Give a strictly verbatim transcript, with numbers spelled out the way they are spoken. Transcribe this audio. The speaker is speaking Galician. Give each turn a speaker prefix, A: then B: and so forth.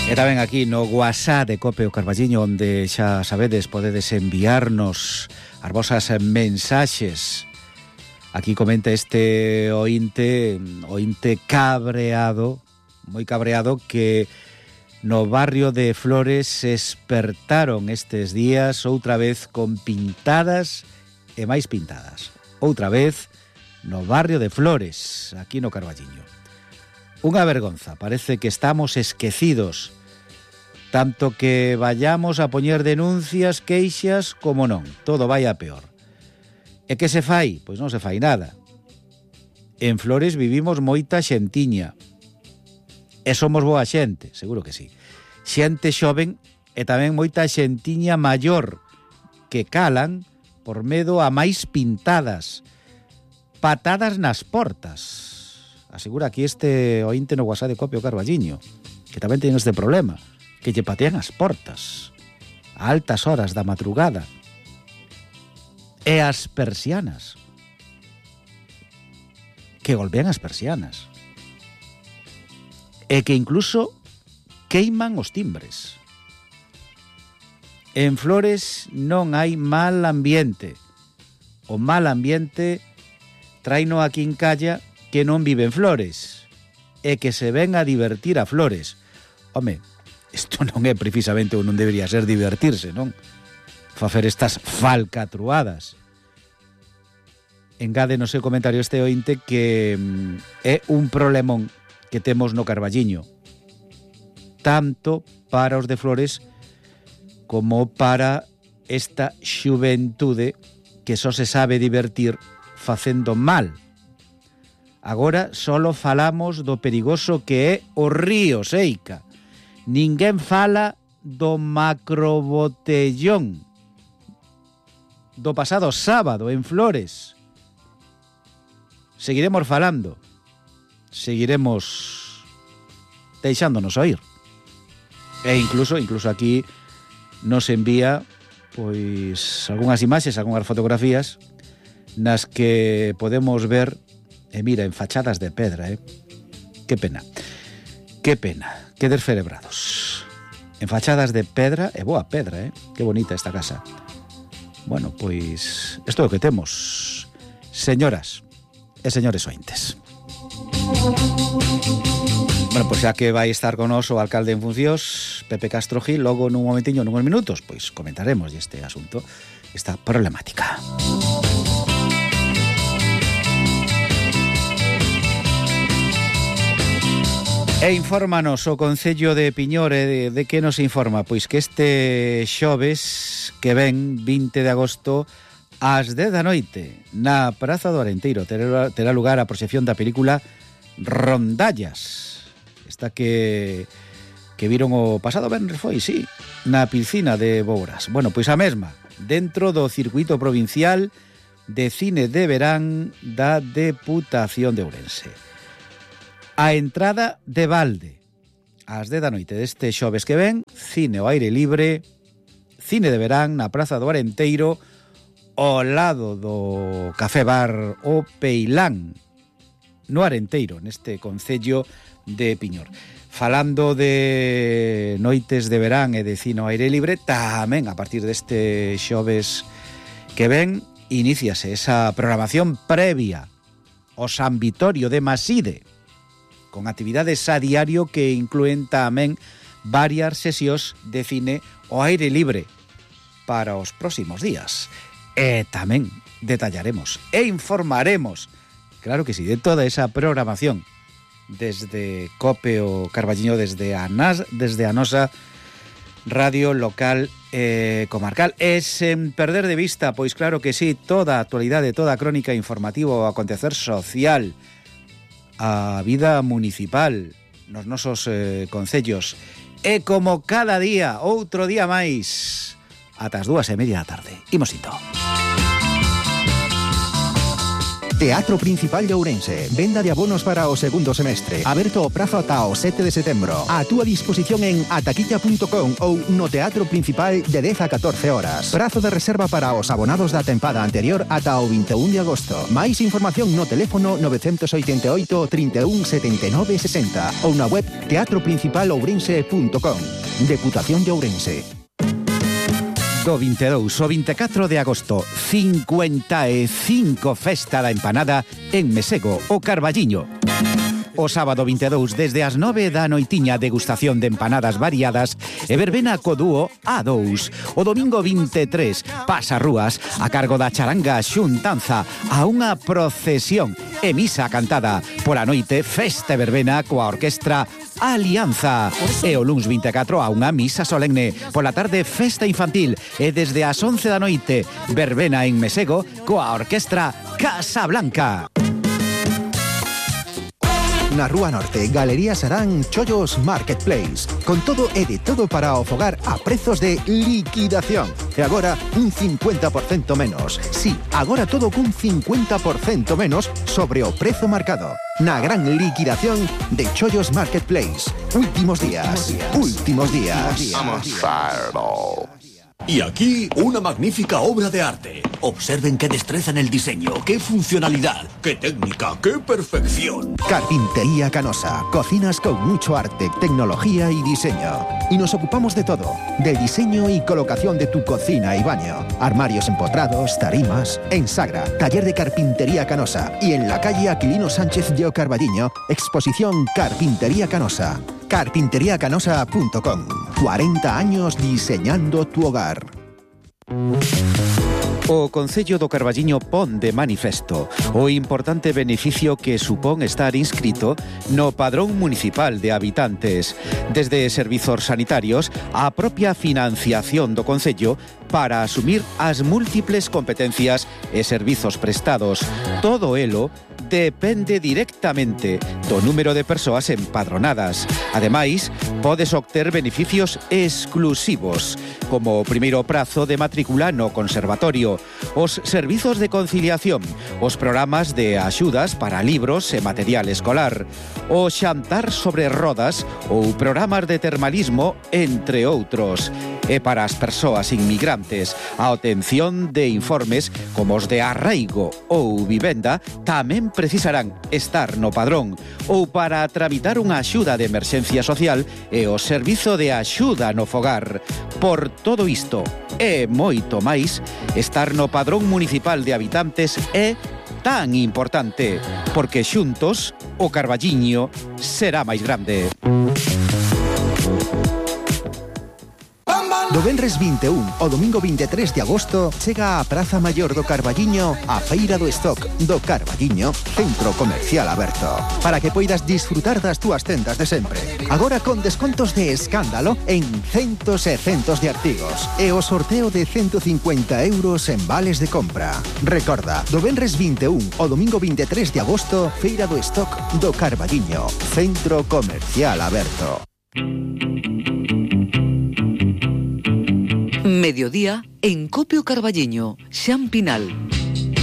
A: E tamén aquí no WhatsApp de Cope o Carballiño, onde xa sabedes podedes enviarnos as vosas mensaxes. Aquí comenta este ointe, ointe cabreado, moi cabreado, que no barrio de Flores se espertaron estes días outra vez con pintadas e máis pintadas. Outra vez no barrio de Flores, aquí no Carballiño. Unha vergonza, parece que estamos esquecidos, tanto que vayamos a poñer denuncias, queixas, como non, todo vai a peor. E que se fai? Pois non se fai nada. En Flores vivimos moita xentiña, e somos boa xente, seguro que sí. Xente xoven e tamén moita xentiña maior, que calan por medo a máis pintadas, patadas nas portas. Asegura aquí este ointe no WhatsApp de Cope o Carballiño, que tamén ten este problema, que lle patean as portas a altas horas da madrugada, e as persianas, que golpean as persianas, e que incluso queiman os timbres. En Flores non hai mal ambiente. O mal ambiente traino a quincalla que non vive en Flores e que se ven a divertir a Flores. Home, isto non é precisamente ou non debería ser divertirse, non? Facer estas falcatruadas. Engade no seu comentario este ointe que é un problemón que temos no Carballiño, tanto para os de Flores como para esta xuventude que só se sabe divertir facendo mal. Agora solo falamos do perigoso que é o río Seica. Ninguén fala do macrobotellón do pasado sábado en Flores. Seguiremos falando, seguiremos deixándonos oír. E incluso, incluso aquí nos envía pois algunhas imaxes, algunhas fotografías nas que podemos ver, e mira, en fachadas de pedra, eh? Que pena, que pena, que descerebrados. En fachadas de pedra, e boa pedra, eh? Que bonita esta casa. Bueno, pois isto é o que temos, señoras e señores ointes. Bueno, pois xa que vai estar con nos o alcalde en funcións, Pepe Castro Gil, logo nun momentiño, nunhos minutos, pois comentaremos este asunto, esta problemática. E infórmanos o Concello de Piñor, de, de que nos informa? Pois que este xoves que ven, vinte de agosto, ás dez da noite, na Praza do Arenteiro, terá, terá lugar a proxección da película Rondallas. Esta que, que viron o pasado venres foi, sí, na piscina de Bouras. Bueno, pois a mesma, dentro do circuito provincial de cine de verán da Deputación de Ourense. A entrada de balde, ás dez da noite deste xoves que ven, cine ao aire libre, cine de verán na Praza do Arenteiro, ao lado do Café Bar O Peilán, no Arenteiro, neste concello de Piñor. Falando de noites de verán e de cine ao aire libre, tamén a partir deste xoves que ven, iníciase esa programación previa ao San Vitorio de Maside, con actividades a diario que incluen tamén varias sesións de cine ao aire libre para os próximos días. E tamén detallaremos e informaremos, claro que sí, de toda esa programación desde Cope o Carballiño, desde a, Nas, desde a nosa radio local e comarcal. E sen perder de vista, pois claro que sí, toda a actualidade, toda a crónica informativa o acontecer social, a vida municipal nos nosos eh, concellos. E como cada día, outro día máis, ata as dúas e media da tarde. Imos ito.
B: Teatro Principal de Ourense. Venda de abonos para o segundo semestre. Aberto o prazo ata o sete de setembro. A túa disposición en ataquilla punto com ou no Teatro Principal de dez a catorce horas. Prazo de reserva para os abonados da tempada anterior ata o vinte e un de agosto. Máis información no teléfono nove oito oito, trinta e un, setenta e nove, sesenta ou na web teatro principal ourense punto com. Deputación de Ourense.
A: Do vinte e dous ao vinte e catro de agosto, cincuenta e cinco Festa da Empanada en Mesego, o Carballiño. O sábado vinte e dous, desde as nove da noitiña, degustación de empanadas variadas e verbena co dúo A dous. O domingo vinte e tres, pasarrúas a cargo da charanga xuntanza a unha procesión e misa cantada. Pola noite, festa e verbena coa orquestra Alianza. E o luns vinte e catro a unha misa solemne. Pola tarde, festa infantil e desde as once da noite, verbena en Mesego coa orquestra Casablanca.
B: Na Rúa Norte, Galería Sarán Chollos Marketplace. Con todo e de todo para o fogar a prezos de liquidación. E agora, un cincuenta por cento menos. Sí, agora todo cun cincuenta por cento menos sobre o prezo marcado. Na gran liquidación de Chollos Marketplace. Últimos días. Últimos días.
C: Vamos, Fireball. Y aquí una magnífica obra de arte. Observen qué destreza en el diseño, qué funcionalidad, qué técnica, qué perfección.
B: Carpintería Canosa. Cocinas con mucho arte, tecnología y diseño. Y nos ocupamos de todo. Del diseño y colocación de tu cocina y baño. Armarios empotrados, tarimas. En Sagra, taller de Carpintería Canosa. Y en la calle Aquilino Sánchez de O Carballiño, exposición Carpintería Canosa. carpintería canosa punto com. cuarenta años diseñando tu hogar.
A: O Concello do Carballiño pon de manifesto o importante beneficio que supón estar inscrito no Padrón Municipal de Habitantes, desde servizos sanitarios á propia financiación do Concello para asumir as múltiples competencias e servizos prestados. Todo elo depende directamente do número de persoas empadronadas. Ademais, podes obter beneficios exclusivos, como o primeiro prazo de matrícula no conservatorio, os servizos de conciliación, os programas de axudas para libros e material escolar, o xantar sobre rodas ou programas de termalismo, entre outros. E para as persoas inmigrantes, a obtención de informes como os de arraigo ou vivenda tamén precisarán estar no padrón, ou para tramitar unha axuda de emerxencia social e o servizo de axuda no fogar. Por todo isto e moito máis, estar no Padrón Municipal de Habitantes é tan importante, porque xuntos o Carballiño será máis grande.
B: Do venres vinte e un ao domingo vinte e tres de agosto chega á Praza Maior do Carballiño a Feira do Stock do Carballiño, centro comercial aberto, para que poidas disfrutar das túas tendas de sempre. Agora con descontos de escándalo en centos e centos de artigos e o sorteo de ciento cincuenta euros en vales de compra. Recorda, do venres vinte e un ao domingo vinte e tres de agosto, Feira do Stock do Carballiño, centro comercial aberto.
D: Mediodía en Copio Carballiño, Xan Pinal.